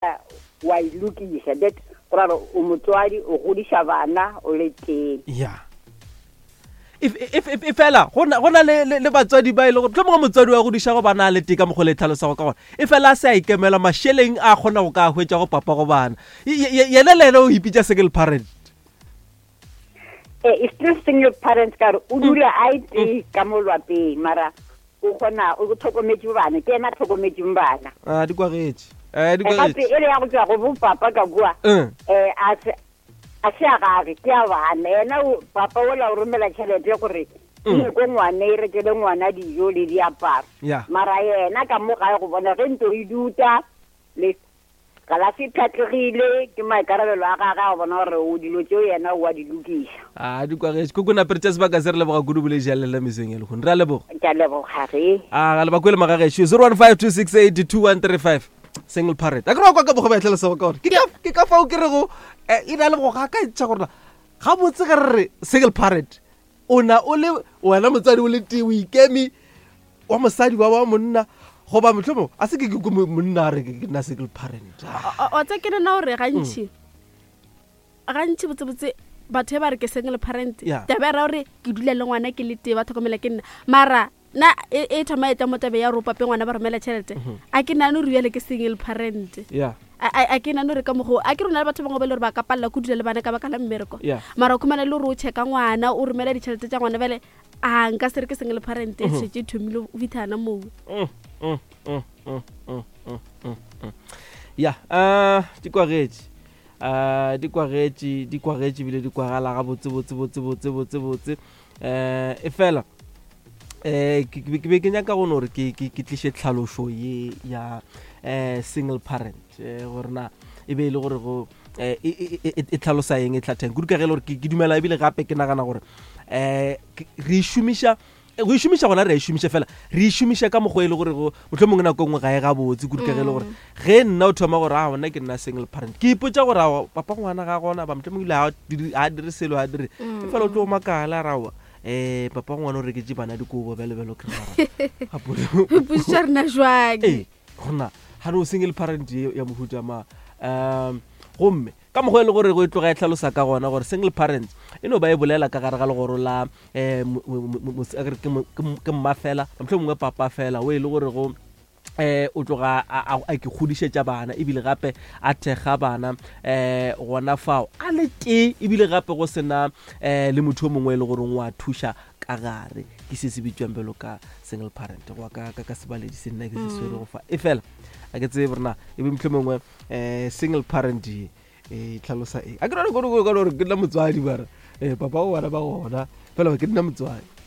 Wa e lokiša that go ra gore o motswadi o godiša bana o le tee. Ya. E fela go na le batswadi ba e le gore mohlomongwe motswadi wa godišago bana a le tee ka mokgwa le tlhalosago ka gona e fela a se a ikemela mašeleng a kgona go ka hwetša go papa go bana yena le yena o ipitša single parent. Eh, it's still single parent ka gore o dula a e tee ka mo lwapeng mara o kgona o tlhokometše bana ke yena a tlhokometseng bana. A di kwagetše. Eh, di kwagetše. Gape e le ya go tšwa go bo papa ka kua. Eh. Eh, a se a se a gage ke a bana yena papa ola o romela tšhelete gore e ko ngwane e rekele ngwana dijo le diaparo. Mara yena ka mo gae go bona ge ntlo e duta le Galase e pšhatlegile, ke maikarabelo a gagwe a go bona gore o dilo tšeo yena o a di lokiša. A di kwagetše. Koko Napere tša sebaka se re leboga kudu boledi ya lena mesong ya lehono. Re a leboga. Ke a leboga ge. A ga le ba kwele magagešo 0152682135 single parent. A ke re wa kwa ka mokgwa ba e tlhalosago ka gore ke ka ke ka fao ke rego eh, e na le go gakantšha gore na gabotse ge re re single parent o na o le wena motswadi o le tee o ikeme wa mosadi wa wa monna goba mohlomong a se ke ke ko monna a re ke nna single parent. Wa tsa ke nna gore gantši gantši botsebotse batho ba re ke single parent taba ya ra gore ke dula le ngwana ke le tee ba tlhokomela ke nna mara na e, e thoma e tla mo tabe ya gore o pape ngwana ba romela tšhelete mhm. a ke nane gore bjale ke single parent a ke nane gore ka mogo a ke rona le batho bangwe ba e le gore ba ka palela ko dula le bana ka baka la mmereko mara o khumana le gore o checka ngwana o romela ditšhelete tša ngwana bjale A nka se re ke single parent e šetše e thomile go fithana moo. Mm, mm, mm, mm, mm, mm, mm, mm. Ya, uh, di kwagetše. Uh, di kwagetše, di kwagetše bile di kwagala ga botse botse botse botse botse botse. Eh, e fela eh ke ke be ke nyaka go no re ke ke ke tliše tlhalošo ye ya eh single parent eh gore na e be e le gore go eh, e, e, e, e tlhalosa eng e tlhatheng kudu ka ge e le gore ke dumela ebile gape ke nagana gore um re e šomiša go e šomiša gona re a e šomiša fela re e šomiša ka mokgwa e le gore go motlho mongwe nako e nngwe ga e gabotse kudu ka ge e le gore mm. ge nna o thoma gore a gona ke nna single parent ke ipotsa gore a papa ngwana ga gona ba motlho mongwe ile ga dire selo ga dire mm. e fela o tlo makala rawa um papa ngwana o reketse bana dikobo bjalo bjalo ke rena rena jwang ee gona ga no single parent ye ya mohuta ma um gomme ka mokgwa e le gore go e tloga e tlhalosa ka gona gore single parents e no ba e bolela ka gare ga legoro la um ke mma fela motlho mongwe papa fela o e le gore go eh o tloga a ke kgodišetša bana ebile gape a thekga bana eh gona fao a le tee ebile gape go sena eh le motho o mongwe e le gore o a thuša ka gare ke se se bitšwang bjalo ka single parent go ka ka ka sebaledi se nna ke se swere go fa e fela a ke tsebe gore na e be motlho mongwe um single parent ye e tlhalosa eng a ke rone kore gore ke nna motswadi bara um papa o bana ba gona fela ke nna motswadi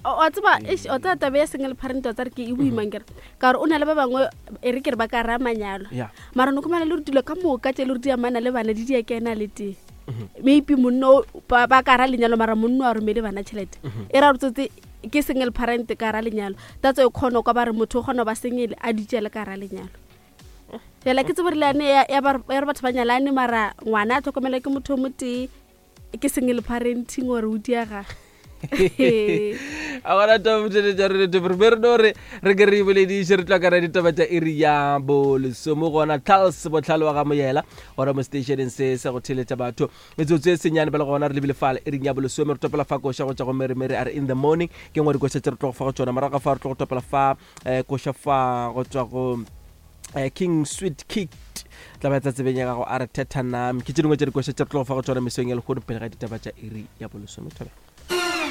wa tseba o tseba tabe ya single parent wa tsare ke e boimang kere ka gore o na le ba bangwe e re ke re ba ka raya manyalo mara no khumana le gore dilo ka moka tse le gore di amana le bana di di ya kena le tee mhm. maybe monno ba ka ra lenyalo mara monno a romele bana tšhelete mhm. e ra gore tsotse ke single parent ka ra lenyalo tatso e kgona kwa ba re motho o kgona ba single a dutšele ka ra lenyalo fela ke tsebo re le yane ya re batho ba nyalane mara ngwana a tlhokomela ke motho o motee ke single parenting gore o diega a gona taba re re be re no re re ke re bolediše re tla kana ditaba tša iri ya bolesomo gona charles botlhale wa ga moyela gona mo stationeng se sa go theletša batho metsotso e senyane bjale gona re lebile fale iring ya bolesome re topela fa koša go tša go mere mere a re in the morning ke ngwe dikoša tse re tlogo fa go tšona morago fa re tlo go topela fa um koša fa go tšwa go eh, king sweet kicked tla ba tsa tsebeng ya gago a re thethanam ke tše dingwe tša dikoša tše re tlogo fa go tšona mesong ya lehono pele ga ditaba tša iri ya bolesome thobela.